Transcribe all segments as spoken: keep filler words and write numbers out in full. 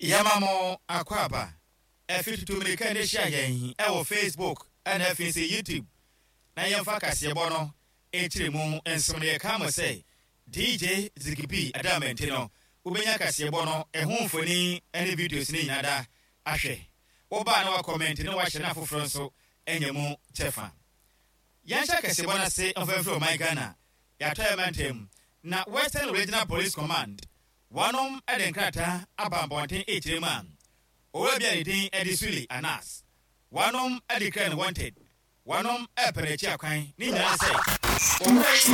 Yɛma mo akwaaba. Ɛfi tutu mmirika ne hyia yɛn ɛwɔ Facebook ɛna afei sɛ YouTube na yɛmfa kaseɛbɔ no nkyerɛ mu nsom no. Yɛka mo sɛ D J Zigibi Adamante no, wobɛnya kaseɛbɔ no ɛho mfoni ne videos no nyinaa da ahwɛ. Wobaa na wakɔmmɛnte na wahyɛ no, afoforɔ nso anya mu kyɛfa. Yɛnhyɛ kaseɛbɔ no ase mfamfiri ɔman Ghana yɛatɔ yɛ mantam na Western Regional Police Command wɔnom de nkrataa aba abɔnten ɛkyerɛ mu a owura bi a ne din de Sule Anas, wɔnom de kra no wanted, wɔnom ɛpɛ n'akyi akwan ne nyinaa sɛ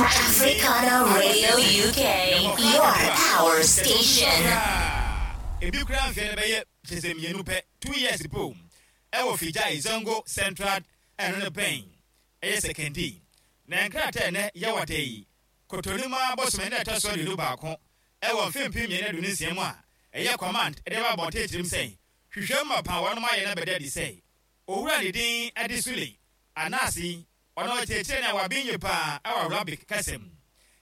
Africana Radio U K, your power station. Ebi kura mfeɛ no bɛyɛ kyɛ sɛ mmienu pɛ, two years po, ɛwɔ Fijai Zongo Central, ɛno no bɛn ɛyɛ Sekondi. Na nkrataa ɛnɛ yɛwɔ da yi Kotonima bɔsɔmɛ ne ɛtɔ so aduonu baako ɛwɔ mfe mpem mmienu aduonu nsia mu a ɛyɛ command ɛde ba abɔnten tirim sɛ hwehwɛ mu mapa wɔnom ayɛ no bɛda adi sɛ owura ne din ɛde Sule Anaase, ɔno ɔkyerɛkyerɛ no a waben yie paa ɛwɔ Arabic kasa mu,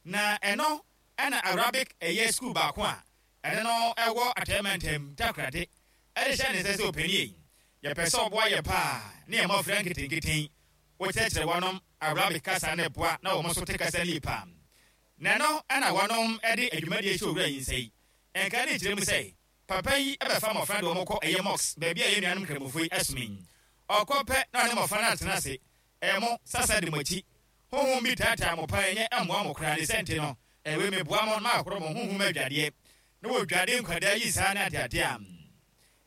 na ɛno ɛna Arabic ɛyɛ school baako a ɛno no ɛwɔ Atɛmantam Takorade ɛde hyɛ ne nsa sɛ ɔpani yi, yɛpɛ sɛ ɔboa yɛ paa ne yɛ mmɔfra nketenketen, wɔkyerɛkyerɛ wɔnom Arabic kasa ne boa na wɔn nso te kasa no yie paa. Na ɛno ɛna wɔnom ɛde adwumadie hyɛ owura yi nsa yi. Ɛnka ne kyerɛ mu sɛ papa yi ɛbɛfa mmɔfra de wɔn kɔ ɛyɛ mosque baabi a yɛn nuanom Nkramofo yi ɛsom yi. Ɔkɔ pɛ na ɔne mmɔfra no atena ase, ɛmo sasa de mo akyi honhom bi taataa mo pa, ɛnyɛ ɛmmoa mo koraa ne sɛ nti no ɛwɛ meboa mo na maakoro mo honhom adwadeɛ na wɔdwade nkwadaa yi saa ne adeade a.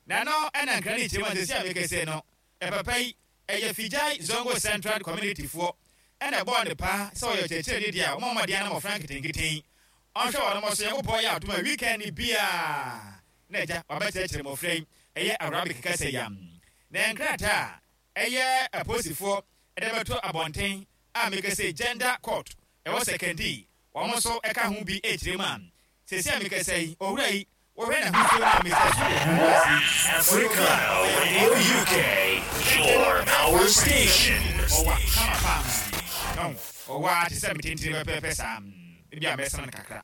Na no ɛna nkra ne kyerɛ mu a sɛsi a mekɛsɛ no, ɛpapa yi ɛyɛ Fijai Zongo Central community foɔ ɛna ɛbɔɔ ne paa sɛ ɔyɛ ɔkyerɛkyerɛni deɛ a wɔn mmɔden na mmɔfra nketenketen ɔnhwɛ wɔn mo so. Nyankopɔn yɛ adom a weekend ni biaa na agya wabɛkyerɛkyerɛ mmɔfra yi ɛyɛ Arabic kasa yam. Na nkrataa a ɛyɛ apolisifoɔ ɛde bɛto abɔnten a meka sɛ gender court ɛwɔ Sekondi, wɔn nso ɛka ho bi ɛkyerɛ mu a sɛsi a meka sɛ yi, owura yi wɔhwɛ n'ahosuo no a Mister Sule Africana Radio U K, your power station. Ɔwa kama paa no, ɔwa te sɛ metentene pɛpɛɛpɛ saa, ebi a mɛsana no kakra.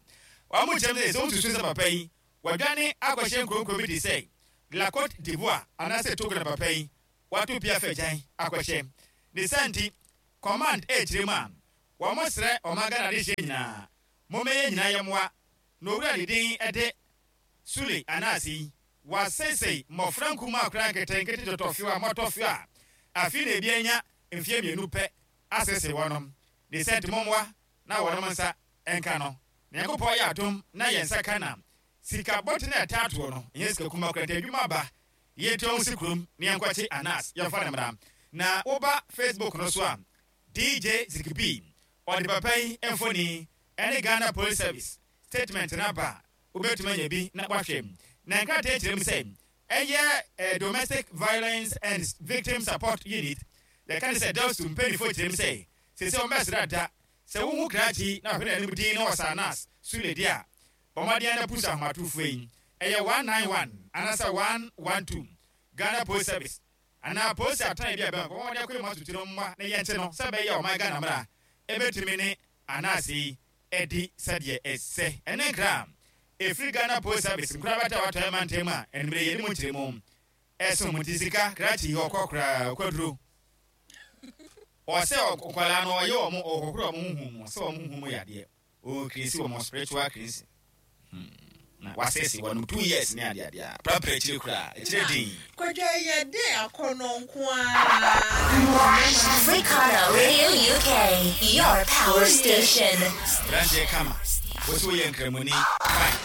Wɔn mo kyerɛ mu sɛ sɛ wosusu sɛ papa yi wadwane akɔhyɛ nkuronkuro bi te sɛ La Cote d'Ivoire anaasɛ Togo na papa yi wato pia fɛ gyan akɔhyɛ ne sa. Nti command ɛkyerɛ mu a wɔn mo srɛ ɔman Ghana de hyɛ nyinaa, mommɛyɛ nyinaa yɛ mmoa na owura ne din ɛde Sule Anaase yi wasɛsɛi mmɔfra nkumaa akora nketenkete tɔtɔfew a mmɔtɔfew a afei na ebi anya mfeɛ mmienu pɛ asese wɔnom ne sɛ. Nti mommoa na wɔnom nsa ɛnka no. Na Nyankopɔn yɛ adom na yɛn nsa ka na sika bɔte na ɛta atoɔ no ɛnyɛ sika kuma kora. Nti adwuma ba, yɛntua ho si kurom na yɛnkɔkye Anas, yɛmfa no mmara. Na woba Facebook no so a, D J Zikibi ɔde papa yi mfoni ɛne Ghana Police Service statement no aba a wobɛtumi anya bi na wahwɛ. Na nkrataa kyerɛ mu sɛ ɛyɛ eh, Domestic Violence and Victim Support Unit, yɛka ne sɛ DOVVSU mpanimfoɔ kyerɛ mu sɛ sɛ sɛ wɔmbɛsrɛ da sɛ wohu krakye na wahwɛ n'anim din na wɔsa Anas Sule deɛ a, bɔmmɔden na pusa ahomatorofoɔ yi ɛyɛ one nine one anaasɛ one one two, Ghana Post Service anaa polisi atan bi a bɛn bɔmmɔden akɔ mu atutu no mmoa na yɛnkye no sɛ bɛyɛ ɔman Ghana mmara ɛbɛtumi ne Anaase yi ɛdi sɛdeɛ ɛsɛ. Ɛne nkra ɛfiri Ghana Post Service nkura bɛta watɔ ɛma ntɛm a ɛnumere yɛde mu nkyerɛ mu ɛso mu. Nti sika krakye yi ɔkɔ koraa ɔkɔduro ɔsɛ nkwadaa no ɔyɛ wɔn ɔkɔkora wɔn huhu mu sɛ wɔn huhu mu yadeɛ ɔkirisi wɔn spiritual cleansing na wasɛse wɔn two years ne adeadeɛ a prapra akyire koraa akyire din. Kwadwa yɛ de akɔnɔ nko ara. Africana Radio U K, your power station. Aberanteɛ kama, wosi woyɛ Nkramoni, fine.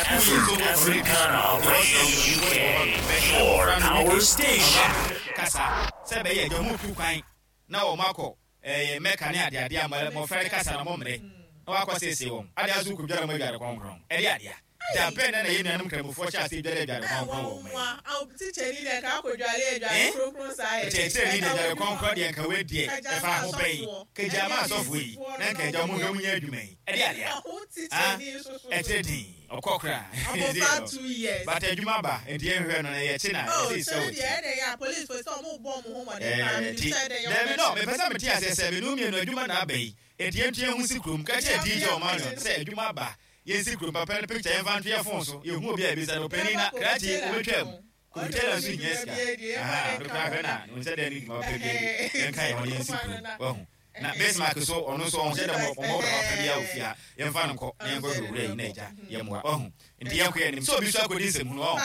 Africana Radio U K, your power station. Kasa sɛ bɛyɛ agya ɔmo tu kwan na wɔn akɔ ɛyɛ Mɛka ne adeade a mmɔfra de kasa na ɔmo mmerɛ na wakɔ sese wɔn ade aso kɔ dware mo adware kronkron ɛde adea da bɛn na na yɛn nuanom Nkramofoɔ hyɛ ase dware adware kronkron wɔ ɔman yi. Tikyɛni deɛ ka akɔdware adware kronkron saa yɛ. Kyerɛkyerɛni de adware kronkron deɛ nka wei deɛ ɛfa ho bɛyi kagya ma asɔfoɔ yi na nka agya ɔmo hwɛ mo nyɛ adwuma yi ɛde adea. Tikyɛni nso so. Ɛkyerɛ din ɔkɔ koraa. Abɔfra two years. But adwuma ba nti yɛnhwɛ no na yɛkyi na Oh, yɛsɛ sika sɛ wɔ deɛ ti. Ɛdɛ yɛ a police fo sɛ ɔmo bɔ ɔmo ho mmɔden paa Ɛɛ, mi ti sɛ ɛdɛ yɛ. Dɛbi no, mepɛ sɛ mete aseɛ sɛ menu mmienu adwuma na aba yi, enti yɛntu yɛn ho si kurom ka kyerɛ D J Ɔmanion sɛ adwuma ba. Yɛnsi kurom papa no picture yɛmfa nto yɛ phone so. Yɛhu obi a ebisa no ɔpanin na krakye wobɛtwa mu. Kɔmputa nso nyɛ sika. Aha, no kora hwɛ na ne nsa dɛ ne dwuma pɛ bi adi. Yɛnka yɛn ho na yɛnsi kurom. Wahu. Na Bismarck so ɔno nso ɔnhyɛ dɛ ɔmɔ papa bi a ofia. Yɛmfa no nkɔ na yɛnkɔ hwɛ owura yi na agya yɛmmoa. Wahu. Nti yɛnkɔ yɛn anim. Sɛ obi nso akɔdi nsɛm hunu ɔho.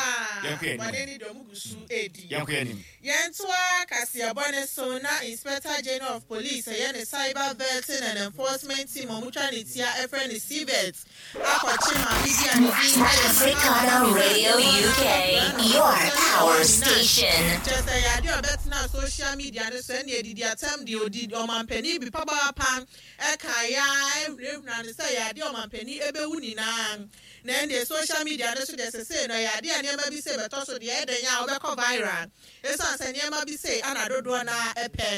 Yɛnkɔ yɛn anim. Yɛnkɔ yɛn anim. Yɛntoa kaseɛbɔ ne so na Inspector General of Police ɛyɛ ne Cyber Vetting and Enforcement Team a ɔmotwa ne tia ɛfrɛ ne C V E T akɔkye maame bi a ne din ɛyɛ Africana Radio U K, your power station. Kyerɛ sɛ yɛade a ɔbɛtena social media no so ɛne adidi atam deɛ ɔdi ɔmampanin bi papaapa ɛka ya ɛhunahuna no sɛ yɛade ɔmampanin ɛbɛwu nyinaa. Na ɛndeɛ social media no so deɛ sesei no yɛade a nneɛma bi sɛ bɛtɔ so deɛ ɛdɛn a wobɛkɔ viral ɛsiane sɛ nneɛma bi sei ana dodoɔ na ɛpɛ.